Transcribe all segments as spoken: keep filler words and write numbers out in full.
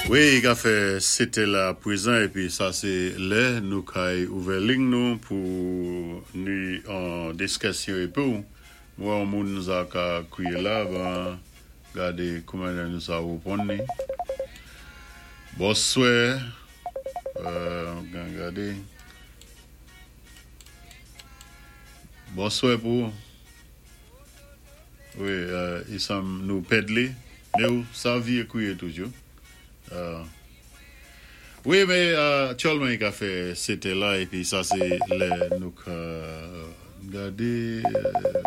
Wi, i ka fè sèt la pwézan épi sa sé lè nou kay ouvè ling nou pou ni an diskisyon épi ou mwen moun sa ka kwiyé la ban gadé kouman nou sa wéponn ni. Bonswè euh gadé. Bonswè pou Wi, euh, i sanm nou pèd li, mé ou sa vyé kwiyé toujou. Euh, wi, mé euh, aktyèlman i ka fè sèt la épi sa sé lè nou ka gadé euh,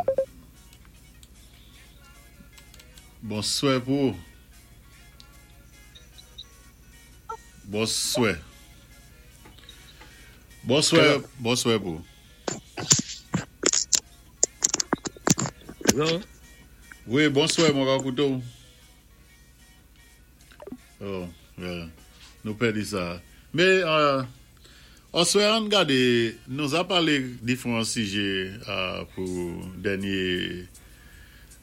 bonswè pou Bonswè. Bonswè, bonswè pou Hello? Wi, bonswè, mwen ka kouté ou. Oh, yeah. Nou pèdi sa. Mé euh, answè an gadé, nou a palé diféwan sijè euh, pou dènyé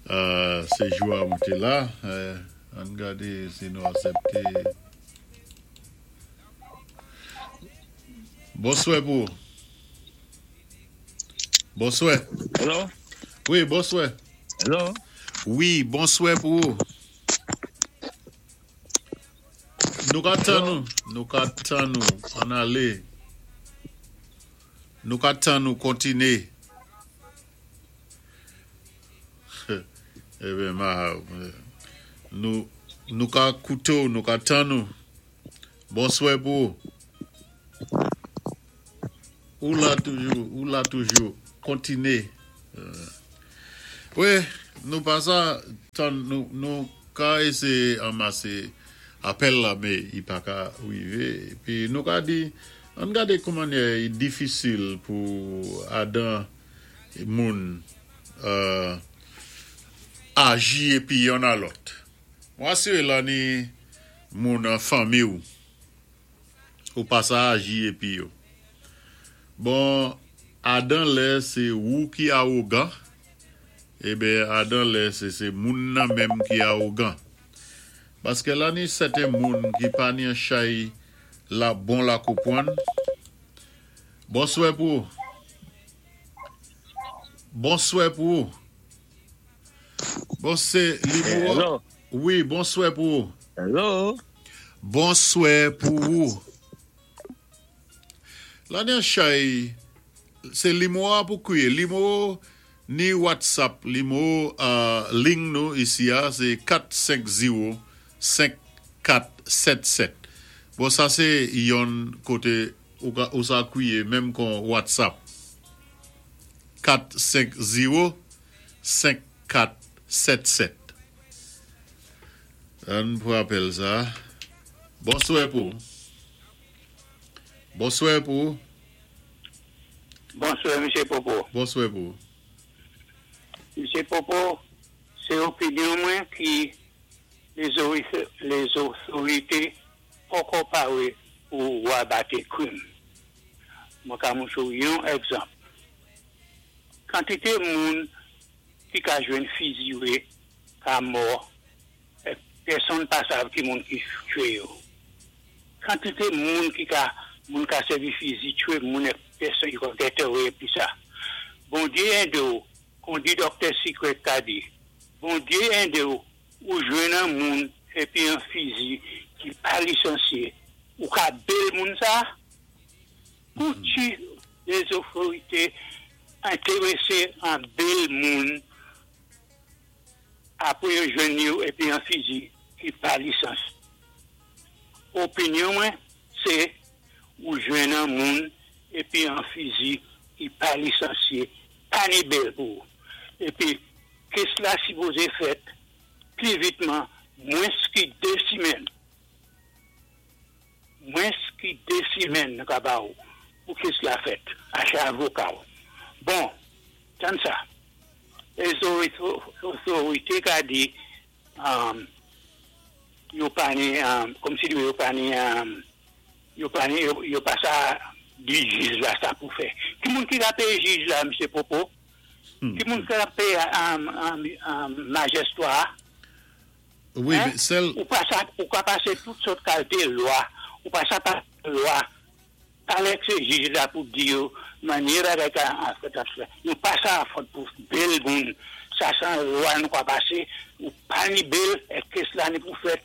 euh, séjou a mwen té la. Euh, an gadé si nou asèpté. Bonswè pou Bonswè. Hello? Wi, bonswè. Hello? Wi, bonswè pou Nou ka tann nou, nou ka tann nou, an alé. Nou ka tann nou kontiné. Eben, ma, nou, nou ka kouté ou, nou ka tann nou. Bonswè pou ou la toujou, ou la toujou, kontiné. Euh, wi, nou pa sa, tann nou, nou ka éséyé anmasé apèl la, mé i pa ka wivé. Pi nou ka di, an gadé kouman i difisil pou adan moun euh, aji épi yonn a lòt. Mwen asiré la ni moun an fanmi ou, ou pa sa aji épi yo. Bon, adan lè sé ou ki awogan, eben adan lè sé sé moun nan menm ki awogan. Paské la ni sèten moun ki pa ni an chay la bon la konpwann. Bonswè pou Bonswè pou Bon sé limwo. Hello? Wi, bonswè pou Hello? Bonswè pou ou. La ni an chay, sé limwo a pou kwiyé. Limwo ni WhatsApp, limwo euh, ling nou isi a, sé kat senk zewo senk kat sèt sèt. Bon, sa sé yon koté ou, ka, ou sa kwiyé menm kon WhatsApp. kat senk zewo senk kat sèt sèt. An pou apèl sa. Bonswè pou. Bonswè pou. Bonswè, Mesye Popo. Bonswè pou. Mesye Popo, sé opinyon mwen ki lézotorité poko paré pou wabaté kwim. Mwen ka montré ou yon egzanp. Kantité moun ki ka jwenn fizi wé, ka mò, é pèsonn pa sav ki moun ki twé yo. Kantité moun ki ka moun ka sèvi fizi twé moun é pèsonn yo get away épi sa. Bondyé édé ou, kon di Doktè Secret ka di. Bondyé édé ou, ou jwenn an moun épi an fizi ki pa lisansyé, ou ka bail moun sa? Pou ti lézotorité entéwésé an bail moun apwé yo jwenn yo épi an fizi ki pa lisans. Opinyon mwen, sé ou jwenn an moun épi an fizi ki pa lisansyé, pa ni bail pou. Épi, case la sipozé fèt pi vitman, mwens ki dé simèn. Mwens ki dé simèn ka ba ou pou case la fèt, aché avoka ou. Bon, tann sa. Lézotorité ka di, um, yo pa ni, um, kòm si yo pa ni, um, yo pa ni, yo, yo pa sa di jij la sa pou fè. Ki moun ki ka péyé jij la, Mesye Popo? Ki moun ki ka péyé um, um, um, majistra? Wi, Hein? mé sèl Ou pa sa, ou ka pasé tout sòt kalité lwa, ou pa sa pa lwa. Palé sé jij la pou di yo, mannyè bagay ka an fèt an fèt. Nou pa sa fòt pou bail moun. Sa san lwa nou ka pasé, ou pa ni bail, é case la ni pou fèt.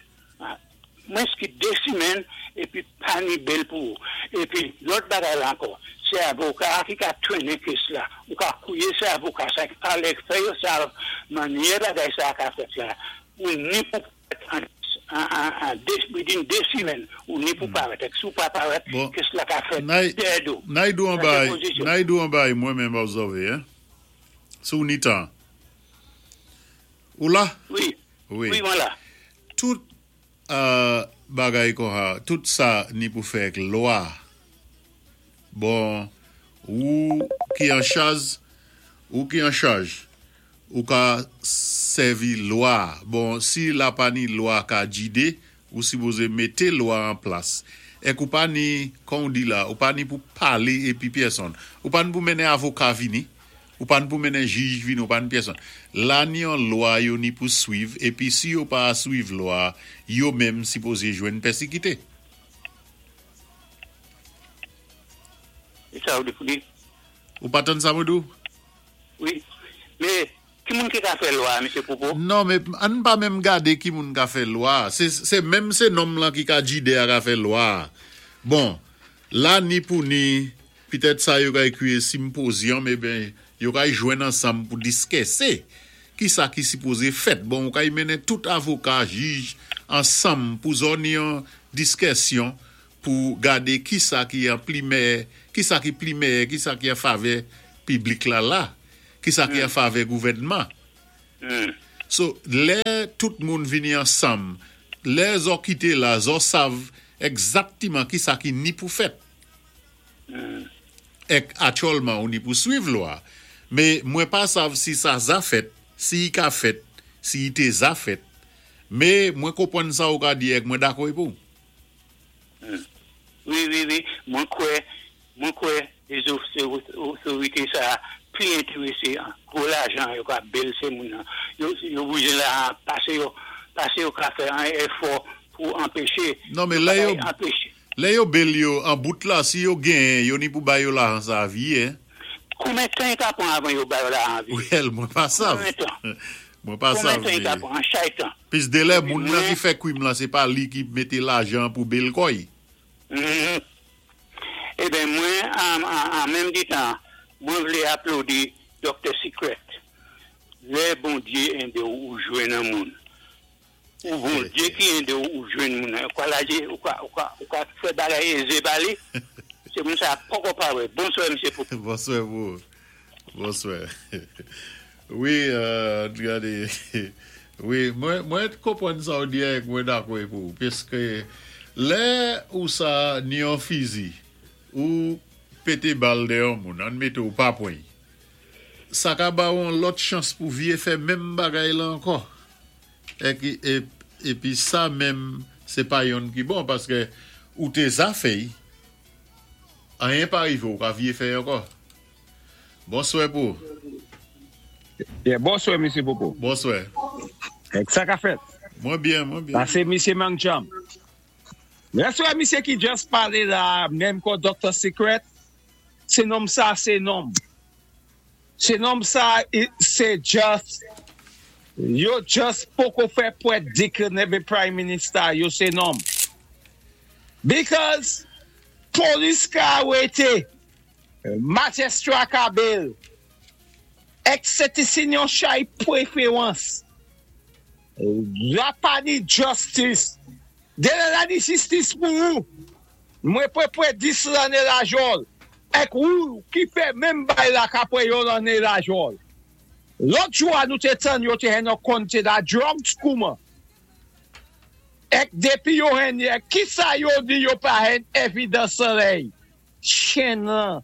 Mwens ki dé simenn, épi pa ni bail pou ou. Épi lòt bagay la ankò, sé avoka ki ka trennen case la. Ou ka kouwé sé avoka sa ki palé, fè yo sa, mannyè bagay sa ka fèt la. Ou ni pou fèt an, an, an, an, dé, within dé simenn, ou ni pou parèt. Si ou pa parèt, Bon. case la ka fèt Nay- dèyè do. Nay dou an Sa, sé bay, pozisyon. Nay dou an bay mwen menm obsèvé, hein? Sou ni tan. Ou la? Wi. Wi. Wi, mwen la. Tout euh, bagay kon ha, tout sa ni pou fè ak lwa. Bon, ou ki an chaj, ou ki an chaj, ou ka sèvi lwa. Bon, si la pa ni lwa ka jidé, ou sipozé mété lwa an plas. Ek ou pa ni, kon ou di la, ou pa ni pou palé épi pèsonn. Ou pa ni pou mennen avoka vini, ou pa ni pou mennen jij vini, ou pa ni pèsonn. La ni an lwa yo ni pou swiv, épi si yo pa swiv lwa, yo menm sipozé jwenn pèsikité. É sa ou di pou di? Ou pa tann sa mwen dou? Wi. Mé, ki moun ki ka fè lwa, Mesye Popo? Non, mé ann pa menm gadé ki moun ka fè lwa. Sé, sé menm sé nonm lan ki ka jidé a ka fè lwa. Bon, la ni pou ni, pitèt sa yo ka ékwi symposium, eh ben, yo ka jwenn ansanm pou diskisé. Ki sa ki sipozé fèt? Bon, ou ka y mennen tout avoka, jij, ansanm pou zòt ni an diskisyon pou gadé ki sa ki an pli meyè, ki sa ki pli meyè, ki sa ki an favè piblik la la, ki sa ki an favè gouvèdman. Hmm. So, lè tout moun vini ansanm, lè zo kité la, zo sav egzaktiman ki sa ki ni pou fèt. Hmm. Ek aktyèlman ou ni pou swiv lwa. Mé mwen pa sav si sa za fèt, si i ka fèt, si i té za fèt. Mé mwen konpwann sa ou ka di ek mwen dakò pou. Hmm. Wi, wi, wi. Mwen kwè, mwen kwè, les otorité sa pli entéwésé an gwo lajan yo ka bail sé moun nan. Yo, yo boujé la, pasé yo, pasé yo ka fè an efò pou anpéché. Non, mé lè yo, Anpéché. Lè yo bail yo an bout la, si yo gen, yo ni pou bay yo lajan sa vi, hein? Konbyen tan ka pwan avan yo bay yo lajan vi? Well, mwen pa sav. Konbyen tan? Mwen pa Konbyen sav. tan mé- ka pwan? An chay tan. Pis de lè, Épi moun nan mwen- ki fè kwim la, sé pa li ki mété lajan pou bail koy. Mhm. Eh ben, mwen, an, an, an menm di tan, mwen vlé aplodi Docteur Secret. Lè Bondyé édé ou jwenn an moun. Ou Bondyé ki édé ou jwenn moun. Ou ka lajé, ou ka, ou ka, ou ka fè bagay ézé ba li. Sé moun sa poko pa wè. Bonswa, Mesye Popo. Bonswa pou. Bonswa. Wi, euh, gadé. Wi, mwen, mwen konpwann sa ou di ek mwen dakò pou. Piské lè ou sa ni an fizi, ou pété bal dèyè yon moun, an mété ou pa pwen. Sa ka ba ou an lòt chans pou vyé fè menm bagay la ankò. Ek, é, épi sa menm, sé pa yonn ki bon, paské ou té za fè'y, anyen pa rivé ou ka vyé fè ankò. Bonswa pou. Yeah, bonswa, Mesye Popo. Bonswa. Ek sa ka fèt? Mwen byen, mwen byen. La, sé Mesye Mang Cham. Mèsi, misye ki just palé la, menm kon Docteur Secret, sé nonm sa, sé nonm. Sé nonm sa, sé just, yo just poko fè pwèt di ke nève Prime Minister, yo sé nonm. Because, polis ka wété, majistra ka bail, ek sé ti sin yon chay pwéféwans. La pa ni justice. Dé la ni jistis pou ou. Mwen pwé pwé dis lanné la jòl. Ek ou ki fè menm bay la ka pwé yon lanné la jòl. Lòt jou a nou té tann yo té hen nou konté la drugs kouman. Ek dépi yo hen, ek ki sa yo di yo pa hen evidans solèy. Chen lan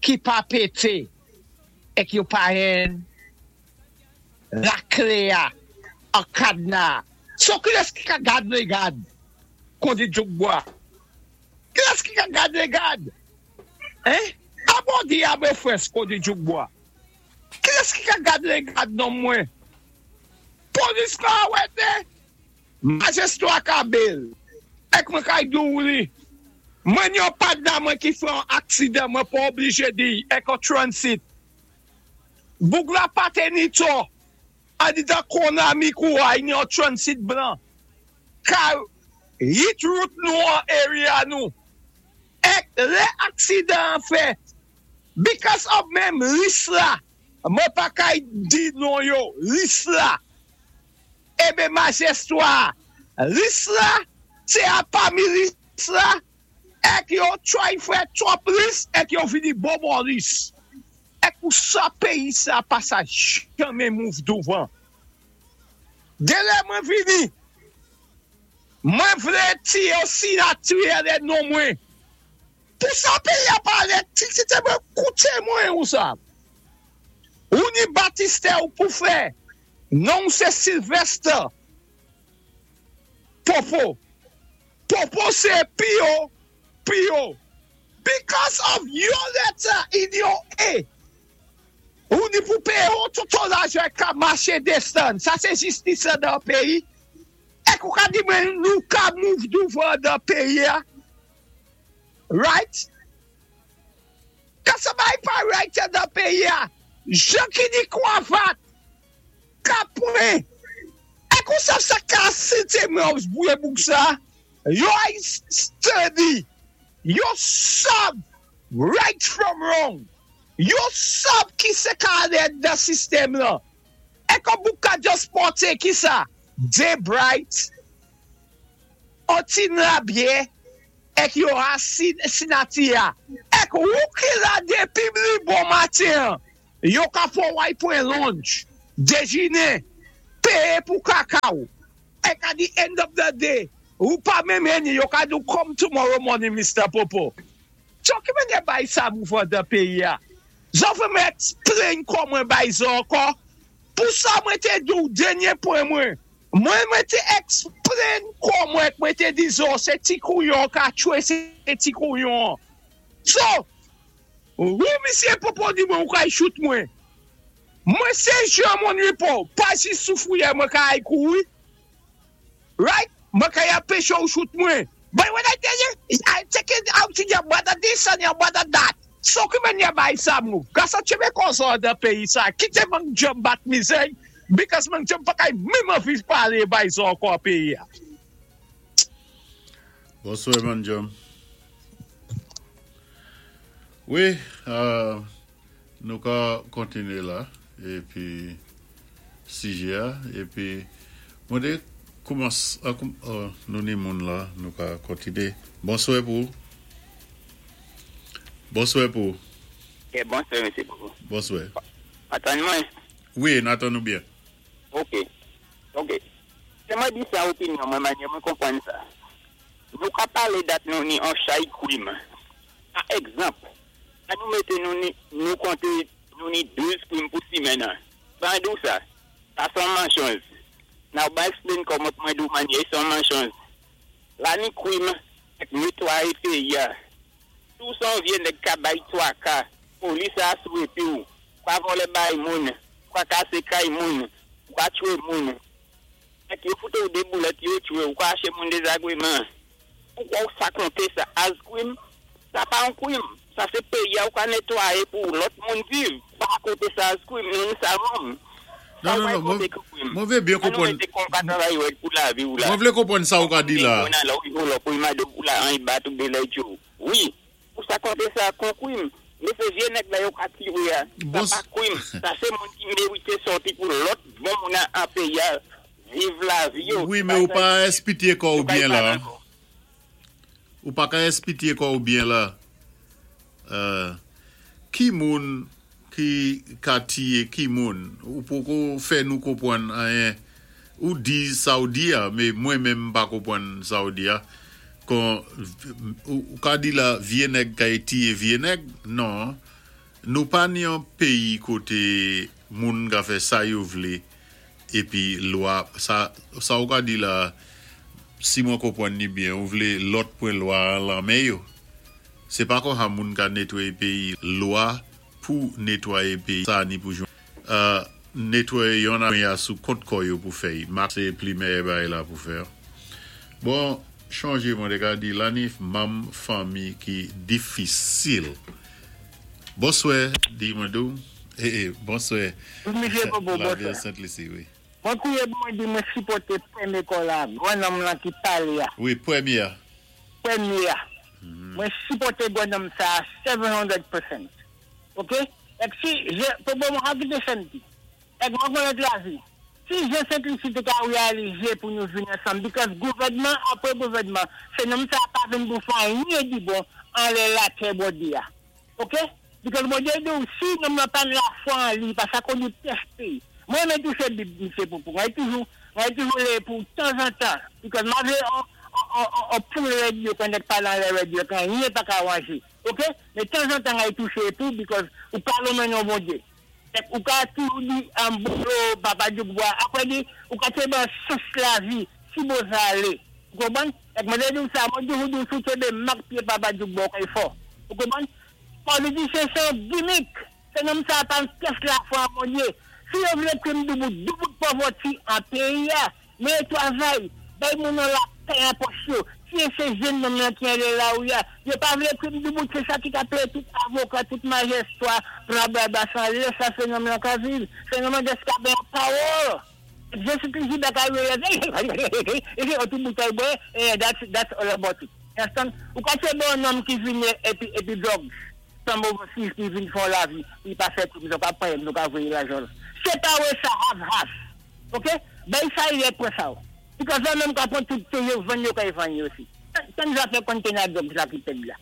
ki pa pété. Ek yo pa hen la klé a an kadna. So kilès ki ka gad lé gad? Kon di Djoukbois. Kilès ki ka gad lé gad? Hein? A bon di abe fres kon di Djoukbois. Kilès ki ka gad lé gad non mwen? Polis ka wété? Majestwa Kabel, èk mwen kay di ou li, mwen yon padna mwen ki fè an aksidan, mwen pa oblijé di, èk an transit. Boug la pa té ni tò, andidan Konami kou a, yon transit blan. Ka hit route nou an area nou. Èk lè aksidan an fèt, because of menm lis la, mwen pa kay di non yo, lis la, ébé majestwa, lis la, sé a pami lis la, èk yo try fè twòp lis, èk yo vini bonbon lis. Èk pou sa péyi sa pa sa janmen move douvan. Dé lè mwen vini, mwen vlé ti yo sinati lé non mwen. Pou sa péyi a palé, ti ti té mwen kouté mwen ou sa. Ou ni batistè ou pou fè, non sé Sylvester. Popo. Popo sé P O P O. Because of your letter in your A. Ou ni pou péyé ou tout lajan ka maché désann. Sa sé jistis dan péyi. Èk ou ka di mwen nou ka move douvan dan péyi a? Right? Ka sa bay pa right dan péyi a? Jan ki ni kwavat, ka pwen. Èk ou sa sa ka sité mwen ou bouye bouk sa? Yo ay study. Yo sab right from wrong. Yo sab ki sé ka alé dan sistèm la. Èk ou bouk ka just pòté ki sa? Dé bright, an ti labyè, èk yo a sin, sinati a. Èk ou ki la dépi li bon maten, yo ka fò way pwen lunch, déjiné, péyé pou kakaw. Èk at the end of the day, ou pa menm eni, yo ka di come tomorrow morning, Mister Popo. So ki men bay sa mouvan dan péyi a? Zò fè mwen explain kò mwen bay zo ankò. Pou sa mwen té di ou dènyé pwen mwen. Mwen mwen té explain kò mwen, mwen té di zo, sé ti kouyon ka tchwé sé ti kouyon. So, ou misyé Popo di mwen ou ka shoot mwen. Mwen sé jan moun ripo, pa si soufouye mwen ka ay kouri. Right? Mwen ka ya peche ou shoot mwen. But when I tell you, I take it out in your mother this and your mother that. So ki men ya bay sa mou? Gasa tchébé konsa dan péyi sa, kité mwen jom bat mizè, because mwen jom pa kay menm anvi palé bay sa ankò péyi a. Bonswè, man Jom. Wi, euh, nou ka kontiné la, épi sijè a, épi mwen dé koumansé, ah, koum, euh, nou ni moun la, nou ka kontiné. Bonswè pou. Bonswè pou. Ok, bonswè, mesye Popo. Bonswè. Atann mwen. Wi, n atann nou byen. Ok. Ok. Sé mwen di sa opinyon, mwen manyè mwen konpwann sa. Nou ka palé dat nou ni an chay kwim. Pa egzanp, an nou mété nou ni, nou konté nou ni douz kwim pou simenn nan. Ban dou sa, sa son mansonj. Now, ba explain kòman mwen dou manyè son mansonj. La ni kwim, èk netwayé péyi a. Tou son vyé nèg ka bay twaka, polis a sou épi ou, pa vòlè bay moun, pa kasé kay moun, pa tchwé moun. Èk yo foute ou dé boulèt yo tchwé ou, ka aché moun dézagwéman. Poukwa ou sa konté sa as kwim? Sa pa an kwim. Sa sé péyi a ou ka netwayé pou lòt moun viv. Pa konté sa as kwim, nou ni sa wrong. Non, non, non, mwen, mwen vlé byen An nou konpwann. mété kon ka travay wè pou lavi ou la. Mwen vlé konpwann sa ou ka di la. Moun nan la ou yo la pou imade ou la an y bat ou de lè djou. Wi, pou sa konté sa kon kwim. Mé sé vyé nèg la yo ka tiré a. Sa Bon, pa kwim. Sa sé moun ki mérité sòti pou lòt bon moun an an péyi a viv lavi yo. Wi, mé ou pa èsplike kò ou Yo pa byen la. y pa ankò. Ou pa ka èsplike kò ou byen la. Euh, ki moun ki ka tiyé ki moun? Ou poko fè nou konpwann anyen. Ou di sa ou di a, mé mwen menm pa konpwann sa ou di a. Kon, ou, ou ka di la vyé nèg ka tiyé vyé nèg? Non. Nou pa ni an péyi koté moun ka fè sa yo vlé épi lwa, sa, sa ou ka di la, si mwen konpwann ni byen, ou vlé lòt pwan lwa lan men yo. Sé pa kon ha moun ka netwayé péyi, lwa pou netwayé péyi, sa ni pou jwen. Euh, Netwayé yon a sou kont kò yo pou fè. Mak sé pli méyè bagay la pou fè. Bon, chanjé mwen té ka di la ni manm fanmi ki difisil. Bonswè, di mwen dou. Eh, eh, bonswè. Msye Bobo, La bonswè. Sainte-Lucie, wi. Mwen kouwè mwen di mwen sipòté pwémyé call la, gwan nonm lan ki palé a. Wi, pwémyé. Pwémyé a. Mwen sipòté gwan nonm sa sèt san pousan. OK? Ek si, je, pou bon mwen hakite senti. Ek mwen konnen lavi. Si je Sainte-Lucie té ka réalizé pou nou vin ansanm, because gouvèdman apwé gouvèdman, sé nonm sa pa vin pou fè anyen di bon anlè latè Bondyé a. OK? Because Bondyé di si nonm nan pa lafwa an li, pa sa kon nou tèsté. Mwen mwen touché Bib, msye Poupou. Mwen toujou, mwen toujou lé pou tanzantan. Because mwen vlé on, on, on, on pou radio, kan nèg palé an lè radio, kan anyen pa ka wanjé. OK? Men tanzantan mwen touché pou, because ou ka lonmen non Bondyé. Ou ka toujou di an bolo, papa Djoukbois, apwé di, ou ka tjébé sous lavi, si bo sa alé. Ou konpwann? Ek mwen di sa, mwen toujou di sou tjébé mak pyé papa Djoukbois kay fò. Ou konpwann? Politisyen sé gimmick. Sé nonm sa pa pyès lafwa an Bondyé. Si yo vlé krim doubout, doubout poverty an péyi a, men twavay, bay moun nan lapè an pòch yo, si sé jenn nonm nan ki anlè la ou ya, yo pa vlé krim doubout, sé sa ki ka péyé tout avoka, tout majistra, bla bla bla, san lè sa sé nonm nan ka viv, sé nonm nan ka gen power. Jésus-Christ da ka wè, e se tout boutèy bwè, eh, that's, that's all about it. Understand? Ou ka sé bon nonm ki vin épi, épi drugs, san overseas ki vin fè lavi, li pa fè tout, nou ka pran, nou ka voyé lajan. Sé pa wè sa half half. OK? Ben sa yé pwé sa. Because yo menm ka pran tout té yo vann yo ka vann yo osi. Tan zafè container drugs la ki pèd la.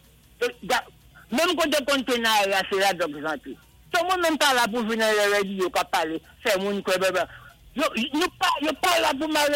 Menm koté container la, sé la drugs rantré. So moun menm pa la pou vin nan radio ka palé, fè moun kwè bè bè. Yo, yo pa, yo pa la pou maré.